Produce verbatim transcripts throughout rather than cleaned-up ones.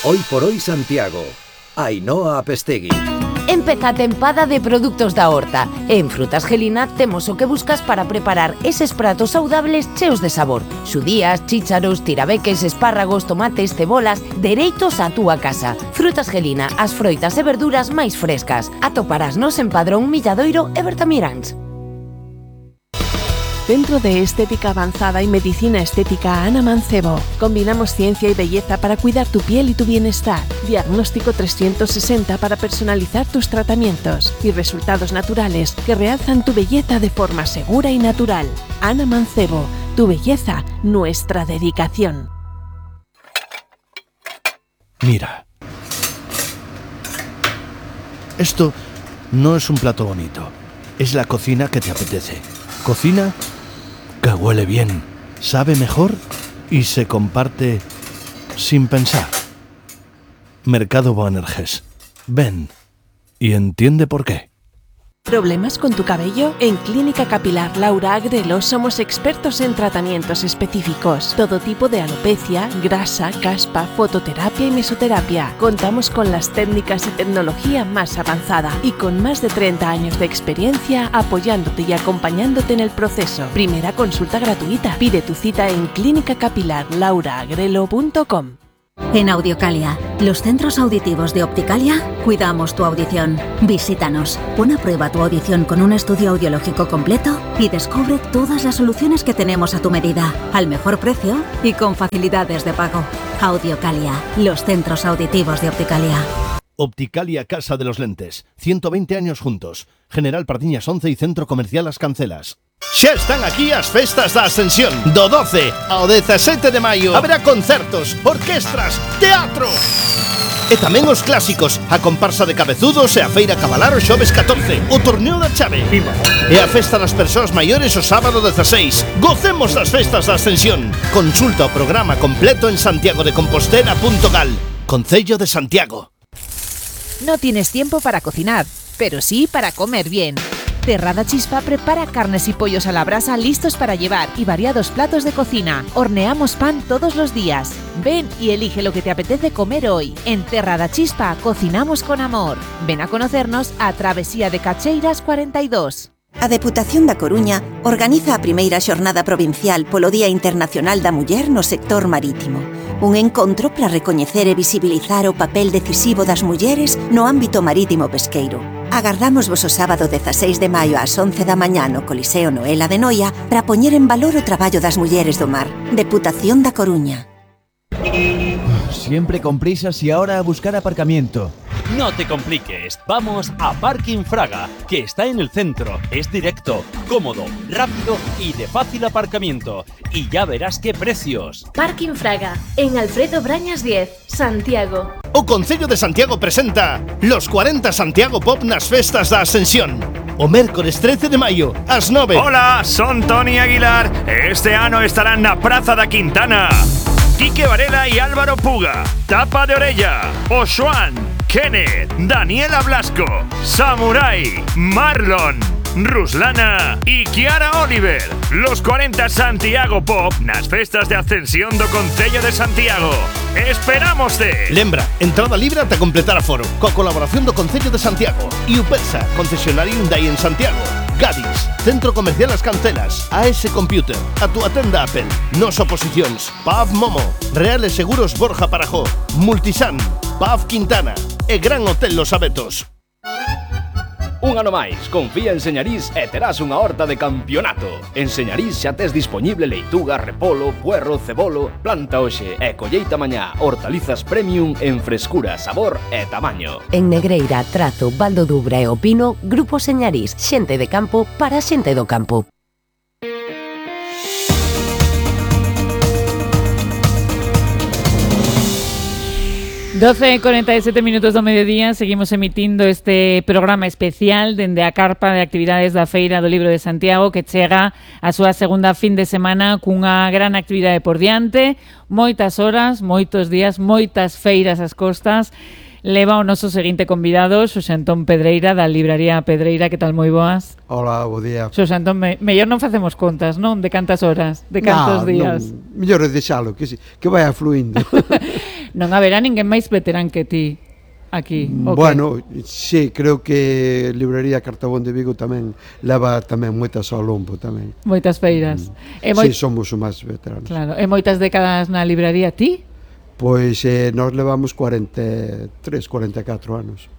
Hoy por hoy Santiago. Ainhoa Apestegui. Empeza a tempada de produtos da horta. En Frutas Gelina temos o que buscas para preparar eses pratos saudables cheos de sabor. Xudías, chícharos, tirabeques, espárragos, tomates, cebolas, dereitos á túa casa. Frutas Gelina, as froitas e verduras máis frescas. Atoparásnos en Padrón, Milladoiro e Bertamiráns. Centro de Estética Avanzada y Medicina Estética Ana Mancebo. Combinamos ciencia y belleza para cuidar tu piel y tu bienestar. Diagnóstico trescientos sesenta para personalizar tus tratamientos y resultados naturales que realzan tu belleza de forma segura y natural. Ana Mancebo, tu belleza, nuestra dedicación. Mira. Esto no es un plato bonito. Es la cocina que te apetece. Cocina que huele bien, sabe mejor y se comparte sin pensar. Mercado Boanerges. Ven y entiende por qué. ¿Problemas con tu cabello? En Clínica Capilar Laura Agrelo somos expertos en tratamientos específicos. Todo tipo de alopecia, grasa, caspa, fototerapia y mesoterapia. Contamos con las técnicas y tecnología más avanzada y con más de treinta años de experiencia apoyándote y acompañándote en el proceso. Primera consulta gratuita. Pide tu cita en clínica capilar laura agrelo punto com. En Audiocalia, los centros auditivos de Opticalia, cuidamos tu audición. Visítanos, pon a prueba tu audición con un estudio audiológico completo y descubre todas las soluciones que tenemos a tu medida, al mejor precio y con facilidades de pago. Audiocalia, los centros auditivos de Opticalia. Opticalia Casa de los Lentes, ciento veinte años juntos. General Pardiñas once y Centro Comercial As Cancelas. Xa están aquí as festas da Ascensión. Do doce ao dezasete de maio haberá concertos, orquestras, teatro e tamén os clásicos, a comparsa de cabezudos e a feira cabalar o xoves catorce, o torneo da chave e a festa das persoas maiores o sábado dezaseis. Gocemos das festas da Ascensión. Consulta o programa completo en santiago de compostela punto gal. Concello de Santiago. No tienes tiempo para cocinar, pero sí para comer bien. Terrada Chispa prepara carnes y pollos a la brasa listos para llevar y variados platos de cocina. Horneamos pan todos los días. Ven y elige lo que te apetece comer hoy. En Terrada Chispa cocinamos con amor. Ven a conocernos a Travesía de Cacheiras cuarenta y dos. A Deputación da Coruña organiza a primeira xornada provincial polo Día Internacional da Muller no sector marítimo. Un encontro para recoñecer e visibilizar o papel decisivo das mulleres no ámbito marítimo pesqueiro. Agardamos vos o sábado dezaseis de maio ás once da mañá no Coliseo Noela de Noia para poñer en valor o traballo das mulleres do mar. Deputación da Coruña. Siempre con prisas y ahora a buscar aparcamiento. No te compliques, vamos a Parking Fraga, que está en el centro, es directo, cómodo, rápido y de fácil aparcamiento. Y ya verás qué precios. Parking Fraga, en Alfredo Brañas diez, Santiago. O Concello de Santiago presenta los cuarenta Santiago Pop nas festas da Ascensión. O mércores trece de maio, ás nove. Hola, son Tony Aguilar. Este ano estarán na Praza da Quintana Quique Varela y Álvaro Puga, Tapa de Orella, Oxuan, Kenneth, Daniela Blasco, Samurai, Marlon, Ruslana y Kiara Oliver. Los cuarenta Santiago Pop nas festas de Ascensión do Concello de Santiago. ¡Esperámoste! Lembra, entrada libre ata completar aforo, coa colaboración do Concello de Santiago e Upesa, concesionario Hyundai en Santiago. Gadis, Centro Comercial As Cancelas, A S Computer, a túa tenda Apple, Nos Oposicións, P A V Momo, Reales Seguros Borja Parajó, Multisan, P A V Quintana e Gran Hotel Los Abetos. Un ano máis, confía en Señarís e terás unha horta de campeonato. En Señarís xa tes disponible leituga, repolo, puerro, cebolo, planta hoxe e colleita mañá. Hortalizas premium en frescura, sabor e tamaño. En Negreira, Trazo, Valdo Dubra e Opino, Grupo Señarís, xente de campo para xente do campo. doce e cuarenta e sete minutos do mediodía, seguimos emitindo este programa especial dende a carpa de actividades da Feira do Libro de Santiago, que chega a súa segunda fin de semana cunha gran actividade por diante, moitas horas, moitos días, moitas feiras ás costas. Leva o noso seguinte convidado, Xosé Antón Pedreira, da Libraría Pedreira. Que tal, moi boas? Hola, bo día. Xosé Antón, me, mellor non facemos contas, non? De cantas horas, de cantos nah, días. Non, mellor é deixalo, que, que vaya fluindo. Non haberá ninguén máis veterán que ti aquí. Bueno, sí, creo que Librería Cartabón de Vigo tamén leva tamén moitas ao lombo tamén. Moitas feiras. Mm. Sí, somos os máis veteranos. Claro, e moitas décadas na libraría ti? Pois eh, nós levamos cuarenta e tres, cuarenta e catro anos.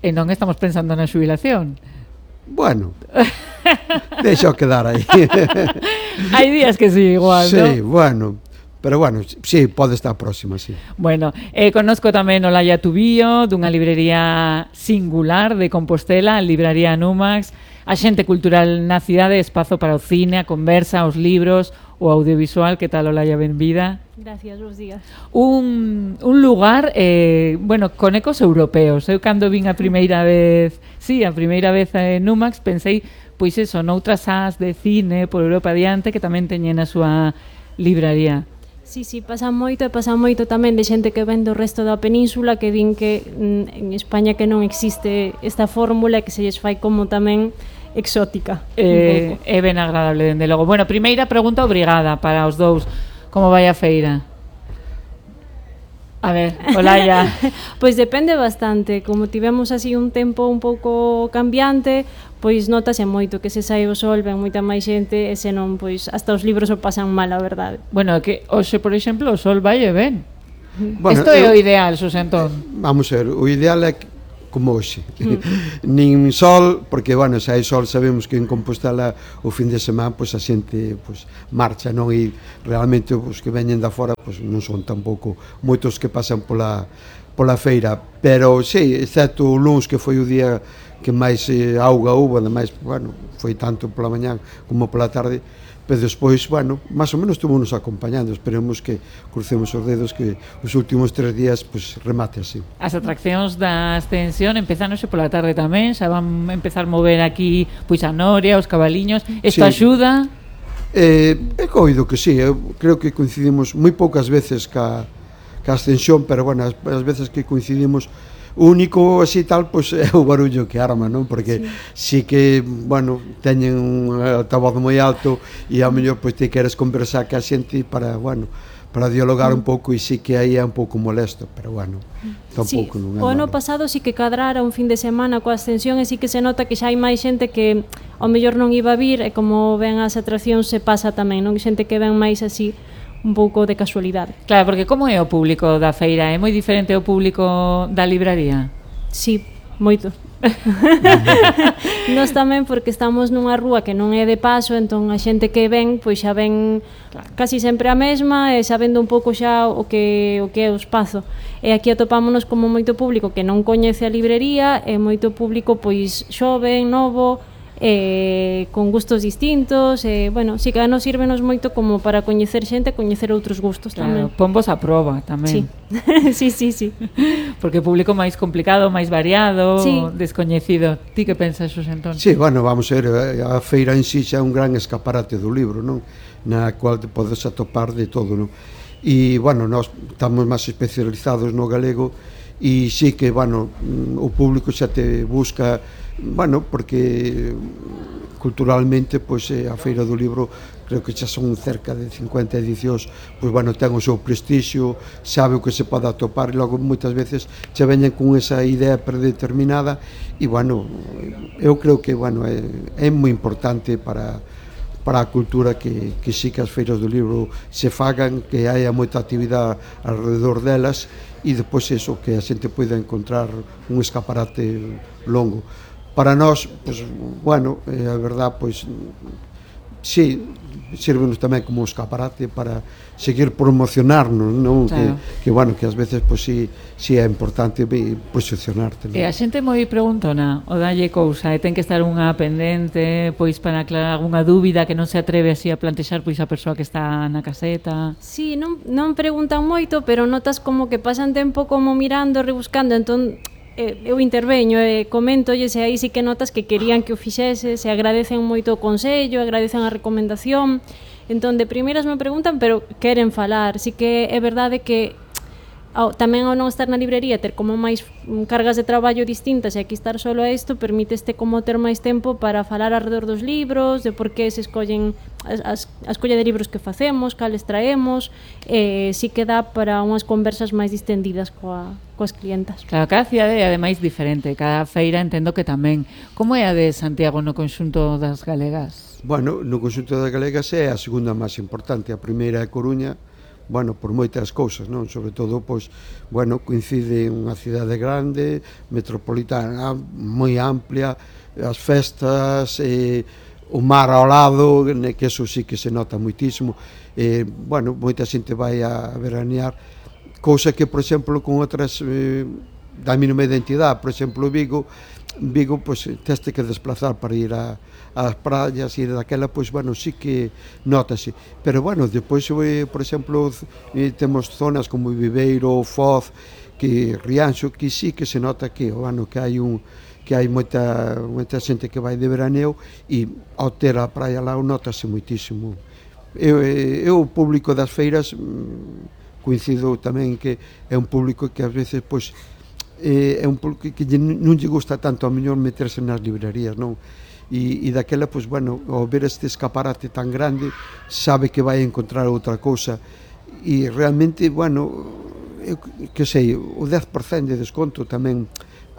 E non estamos pensando na xubilación? Bueno, deixa quedar aí. Hai días que sí, igual, sí, ¿no? Sí, bueno, pero bueno, sí, pode estar próxima, sí. Bueno, eh, conozco tamén Olaya Tubío, dunha librería singular de Compostela, a Libraría Numax, a xente cultural na cidade, espazo para o cine, a conversa, os libros, o audiovisual. Que tal, Olaya? Benvida. Gracias, bons días. Un, un lugar, eh, bueno, con ecos europeos. Eu cando vin a primeira vez, sí, a primeira vez en Numax, pensei, pois eso, noutras as de cine por Europa adiante que tamén teñen a súa libraría. Sí, sí, pasa moito e pasa moito tamén de xente que ven do resto da península que din que mm, en España que non existe esta fórmula e que se lles fai como tamén exótica. Eh, é ben agradable, dende logo. Bueno, primeira pregunta obrigada para os dous. Como vai a feira? A ver, Olaya. Pois depende bastante. Como tivemos así un tempo un pouco cambiante, pois notase moito que se sai o sol, ven moita máis xente, e senón, pois, hasta os libros o pasan mal, a verdade. Bueno, que hoxe, por exemplo, o sol vai e ven. Bueno, Isto é o ideal, Susentón. Vamos a ver, o ideal é que como hoxe. Mm. Nin sol, porque, bueno, se hai sol sabemos que en Compostela o fin de semana pois a xente pois marcha, non? E realmente os que veñen da fora pois non son tampouco moitos que pasan pola pola feira, pero sí, excepto o luns que foi o día que máis eh, auga houve, ademais, bueno, foi tanto pola mañán como pola tarde, pero despois, bueno, máis ou menos estuvemos acompañando. Esperemos que crucemos os dedos que os últimos tres días pues, remate así. As atraccións da extensión empezan hoxe pola tarde tamén, xa van empezar a mover aquí pois a noria, os cabaliños. Isto sí. Axuda? Eh, é coido que sí, eu creo que coincidimos moi poucas veces ca, ca ascensión, pero bueno, as, as veces que coincidimos o único así tal, pois é o barullo que arma, non? Porque sí, sí que, bueno, teñen un altavoz moi alto e ao mellor pois te queres conversar ca xente para, bueno, para dialogar un pouco e sí que aí é un pouco molesto, pero bueno, tampouco sí, non é o ano malo. pasado sí que cadrara un fin de semana coa ascensión e sí que se nota que xa hai máis xente que ao mellor non iba a vir e como ven as atraccións se pasa tamén, non? Xente que ven máis así un pouco de casualidade. Claro, porque como é o público da feira? É moi diferente o público da libraría? Sí, moito. Nós tamén porque estamos nunha rúa que non é de paso, entón a xente que ven, pois xa ven claro. Casi sempre a mesma e sabendo un pouco xa o que o que é o espazo. E aquí atopámonos como moito público que non coñece a librería e moito público pois xoven, novo, eh, con gustos distintos e, bueno, si que nos sírvenos moito como para coñecer xente e coñecer outros gustos claro, tamén. Pombos a proba tamén. Sí, sí, sí, sí. Porque o público máis complicado, máis variado, sí. descoñecido. Ti que pensas, Xosé Antón? Sí, bueno, vamos a ver, a feira en sí xa é un gran escaparate do libro, non? Na cual te podes atopar de todo, non? E, bueno, nós estamos máis especializados no galego e sí que, bueno, o público xa te busca, bueno, porque culturalmente, pois, a Feira do Libro creo que xa son cerca de cincuenta edicións, pois, bueno, ten o seu prestixio, sabe o que se pode atopar e logo moitas veces xa veñen con esa idea predeterminada e, bueno, eu creo que, bueno, é, é moi importante para para a cultura que, que sí que as feiras do libro se fagan, que haya moita actividade alrededor delas e depois eso, que a xente poida encontrar un escaparate longo. Para nós, pues, bueno, eh, a verdad, pois, sí, sírvenos tamén como escaparate para seguir promocionarnos, non? Claro. Que, que, bueno, que ás veces, pois, sí, sí é importante posicionarte, non? E a xente moi preguntona, o dalle cousa, e ten que estar unha pendente, pois, para aclarar algunha dúbida que non se atreve así a plantexar, pois, a persoa que está na caseta. Sí, non, non preguntan moito, pero notas como que pasan tempo como mirando, rebuscando, entón eu interveño e coméntolles e aí sí que notas que querían que o fixese, se agradecen moito o consello, agradecen a recomendación, entón de primeiras me preguntan, pero queren falar, sí que é verdade que ao, tamén ao non estar na librería ter como máis cargas de traballo distintas e aquí estar solo a isto permíteste como ter máis tempo para falar alrededor dos libros, de por que se escollen as, as, a escolla de libros que facemos, cales traemos, e si que dá para unhas conversas máis distendidas coa, coas clientas. Claro, cada cidade é ademais diferente, cada feira entendo que tamén. Como é a de Santiago no conxunto das galegas? Bueno, no conxunto das galegas é a segunda máis importante, a primeira é Coruña, bueno, por moitas cousas, non? Sobre todo, pois, bueno, coincide unha cidade grande, metropolitana, moi amplia, as festas, eh, o mar ao lado, que eso sí que se nota moitísimo, eh, bueno, moita xente vai a veranear, cousa que, por exemplo, con outras, eh, da mínima identidade, por exemplo, Vigo, Vigo, pois, teste que desplazar para ir a as praias e daquela, pois, bueno, sí que notase, pero, bueno, depois, por exemplo, temos zonas como Viveiro, Foz, que Rianxo, que sí que se nota que, bueno, que hai un que hai moita, moita xente que vai de veraneo e ao ter a praia lá notase moitísimo. Eu, eu o público das feiras coincido tamén que é un público que ás veces, pois, é un público que non lle gusta tanto a mellor meterse nas librerías, non? E, e daquela, pois, bueno, ao ver este escaparate tan grande, sabe que vai encontrar outra cousa e realmente, bueno, eu que sei, o dez por cento de desconto tamén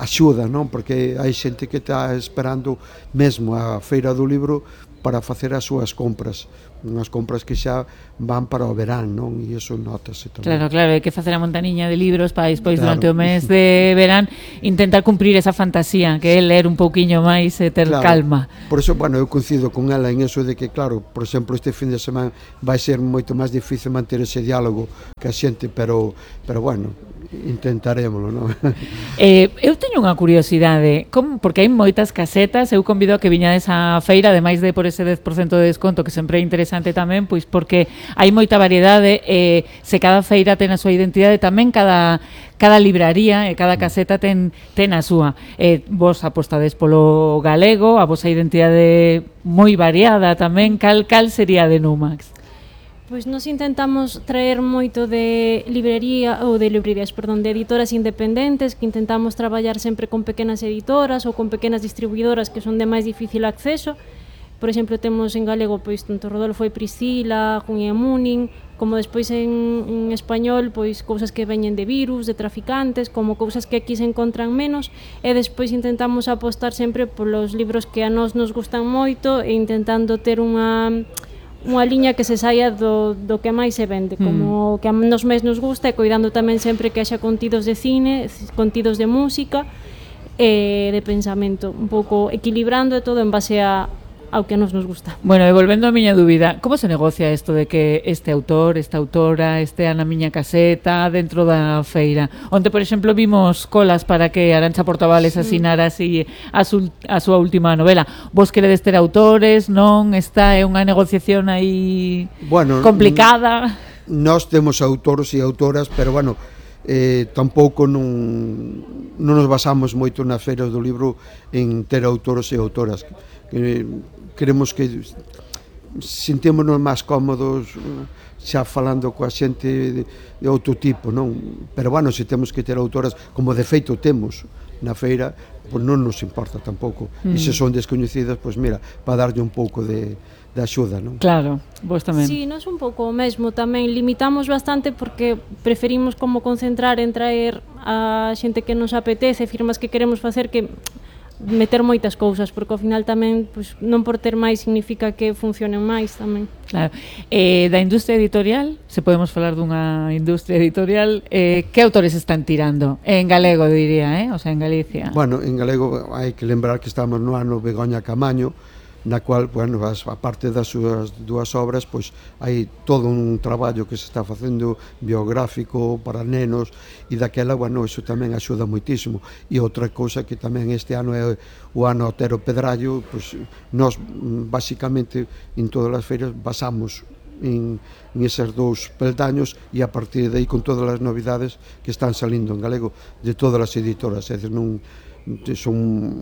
axuda, non? Porque hai xente que está esperando mesmo a feira do libro para facer as súas compras, unhas compras que xa van para o verán, non? E iso notase tamén. Claro, claro, hai que facer a montaniña de libros para despois, claro, durante o mes de verán intentar cumprir esa fantasía que é ler un pouquiño máis e ter, claro, calma. Por eso, bueno, eu coincido con ela en eso de que, claro, por exemplo, este fin de semana vai ser moito máis difícil manter ese diálogo que a xente, pero, pero bueno, intentarémolo, non? Eh, eu teño unha curiosidade, como, porque hai moitas casetas, eu convido a que viñades á feira, ademais de por ese dez por cento de desconto, que sempre é interesante tamén, pois porque hai moita variedade, e eh, se cada feira ten a súa identidade, tamén cada cada libraría e cada caseta ten ten a súa. Eh, vos apostades polo galego, a vosa identidade moi variada tamén, cal cal sería de Numax? Pois nos intentamos traer moito de librería ou de librerías, perdón, de editoras independentes, que intentamos traballar sempre con pequenas editoras ou con pequenas distribuidoras que son de máis difícil acceso. Por exemplo, temos en galego pois tanto Rodolfo e Priscila, Junia Munin, como despois en, en español, pois cousas que veñen de virus, de traficantes, como cousas que aquí se encontran menos, e despois intentamos apostar sempre polos libros que a nós nos gustan moito e intentando ter unha unha liña que se saia do, do que máis se vende, como mm. que a nos mes nos gusta, e coidando tamén sempre que haxa contidos de cine, contidos de música e de pensamento, un pouco equilibrando todo en base a ao que nos nos gusta. Bueno, e volvendo a miña dúbida, como se negocia isto de que este autor, esta autora estea na miña caseta dentro da feira? Onde, por exemplo, vimos colas para que Arantxa Portavales sí. asinara así a, su, a súa última novela. Vos queredes ter autores, non? Está é unha negociación aí bueno, complicada? Nós temos autores e autoras, pero bueno, eh, tampouco non, non nos basamos moito nas feiras do libro en ter autores e autoras. Que, queremos que sentémonos máis cómodos xa falando coa xente de, de outro tipo, non? Pero, bueno, se temos que ter autoras, como de feito temos na feira, pois non nos importa tampouco. Mm. E se son descoñecidas, pois mira, para darlle un pouco de, de axuda, non? Claro, vos tamén. Sí, nós un pouco o mesmo tamén, limitamos bastante porque preferimos como concentrar en traer a xente que nos apetece, firmas que queremos facer, que meter moitas cousas, porque ao final tamén pues, non por ter máis significa que funcionen máis tamén. Claro. Eh, da industria editorial, se podemos falar dunha industria editorial, eh, que autores están tirando? En galego, diría, eh? O sea, en Galicia. Bueno, en galego hai que lembrar que estamos no ano Begoña Camaño, na cual, bueno, as, a parte das súas dúas obras, pois hai todo un traballo que se está facendo biográfico para nenos, e daquela, bueno, iso tamén axuda moitísimo. E outra cousa que tamén este ano é o ano Otero Pedrallo, pois nós, basicamente, en todas as feiras basamos en, en eses dous peldaños, e a partir de aí con todas as novidades que están salindo en galego de todas as editoras, é dicir, non son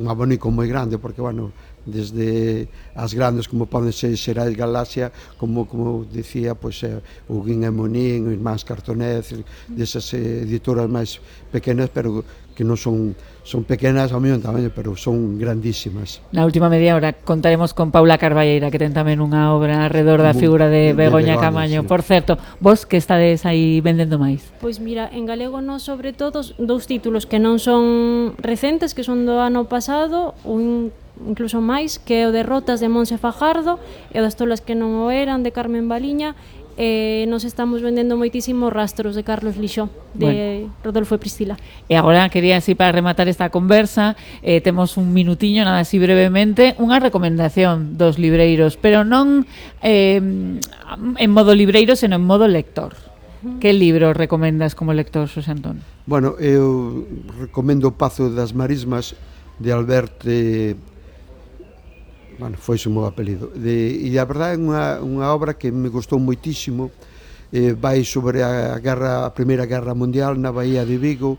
un abanico moi grande, porque, bueno, desde as grandes como poden ser Xerais Galaxia, como como dicía, pois é o Guín e Monín, o Irmáns Cartonés, desas editoras máis pequenas, pero que non son son pequenas ao mesmo tamaño, pero son grandísimas. Na última media hora contaremos con Paula Carballeira, que ten tamén unha obra alrededor da figura de, de Begoña, Begoña Camaño. Sí. Por certo, vos que estades aí vendendo máis? Pois mira, en galego non, sobre todo dous títulos que non son recentes, que son do ano pasado, un incluso máis, que é o de Rotas de Monse Fajardo e o das tolas que non o eran, de Carmen Baliña. Eh, nos estamos vendendo moitísimos Rastros de Carlos Lixó, de bueno. Rodolfo e Priscila. E agora quería así para rematar esta conversa, eh, temos un minutiño, nada así brevemente, unha recomendación dos libreiros, pero non eh, en modo libreiro, senón en modo lector. Uh-huh. Que libro recomendas como lector, Xosé Antón? Bueno, eu recomendo O Pazo das Marismas, de Albert eh, bueno, foi o meu apelido, de, e a verdade é unha, unha obra que me gustou moitísimo, eh, vai sobre a, guerra, a Primeira Guerra Mundial na Bahía de Vigo,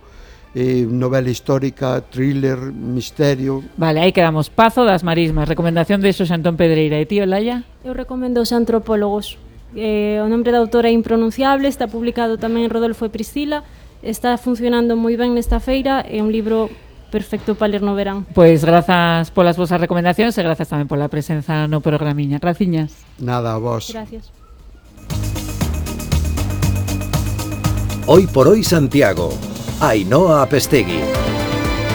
eh, novela histórica, thriller, misterio. Vale, aí quedamos, Pazo das Marismas, recomendación de Xosé Antón Pedreira. E ti, Olaya? Eu recomendo Os Antropólogos, eh, o nombre da autora é impronunciable, está publicado tamén en Rodolfo e Priscila, está funcionando moi ben nesta feira, é un libro perfecto para ler no verán. Pois grazas polas vosas recomendacións e grazas tamén pola presenza no programiña. Graciñas. Nada, a vos. Gracias. Hoy por hoy Santiago. Ainhoa Apestegui.